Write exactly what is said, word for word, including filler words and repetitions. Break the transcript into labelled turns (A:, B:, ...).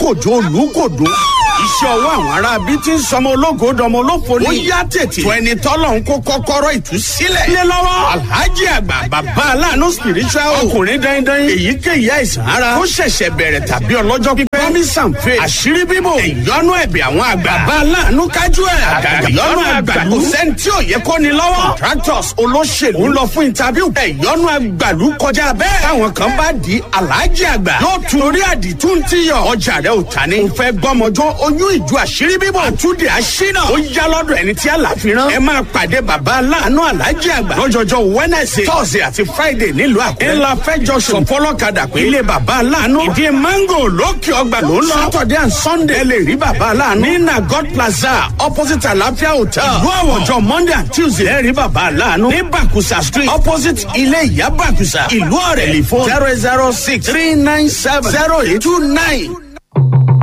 A: Kòjó Olùkòdó. Iṣẹ́ ọwọ́ àwọn ará bí ti ń sọmọ ológo dọmọ olófo ni. Ó yá tètè. Fún ẹni tọ́lọ̀ ń kó kọ́kọ́rọ́ ìtúsílẹ̀. Lé lọ́wọ́. Alhaji Àgbà Bàbá Aláàánú Spiritual. Ọkùnrin dandan. Èyíkéyìí àìsàn ara. Ó ṣẹ̀ṣẹ̀ bẹ̀rẹ̀ tàbí ọlọ́jọ́ pípẹ́. Promise and faith. Àṣírí bíbò. Ìyọnu ẹ̀bẹ̀ àwọn àgbà. Bàbá Aláàánú kájú ẹ̀. Àgàgà ìyọnu àgbàlú. Kò sẹ́ni tí ò yẹ kó ni lọ́wọ́. Contractors, olóṣèlú. Ń lọ fún interview. Ìyọnu àgbàlú kọjá bẹ́ẹ̀. Táwọn kan bá di Alhaji Àgbà. Yóò tún orí àdìtú ti yọ. Ọjà rẹ ò ta ni. Mo fẹ́ gbọ́mọjọ́ oyún ìjú, àṣírí bíbò. Àtúndì àṣínà. Ó yá lọ́dọ̀ ẹni tí àlàfi rán. Ẹ máa pàdé Bàbá Aláàánú Alhaji Àgbà lọ́jọ́jọ́ Wednesday, Thursday àti Friday nílùú Àkúrẹ́. Ńlá fẹ́jọ sọ̀fọ́lọ́kadà pé ilé Bàbá Aláàánú, Ìdí Mango, lókè ọgbà ló ń lọ. Saturday and Sunday, ẹ lè rí Bàbá Aláàánú ní Nagot Plaza, opposite Àlàáfíà Hotel, ìlú Àwọ̀. Ọjọ́ Monday and Tuesday, ẹ rí Bàbá Aláàánú ní Bàkúsà Street, opposite ilé Ìyá Bàkúsà, ìlú Ọ̀rẹ́. Telephone zero zero six three nine seven zero eight two nine.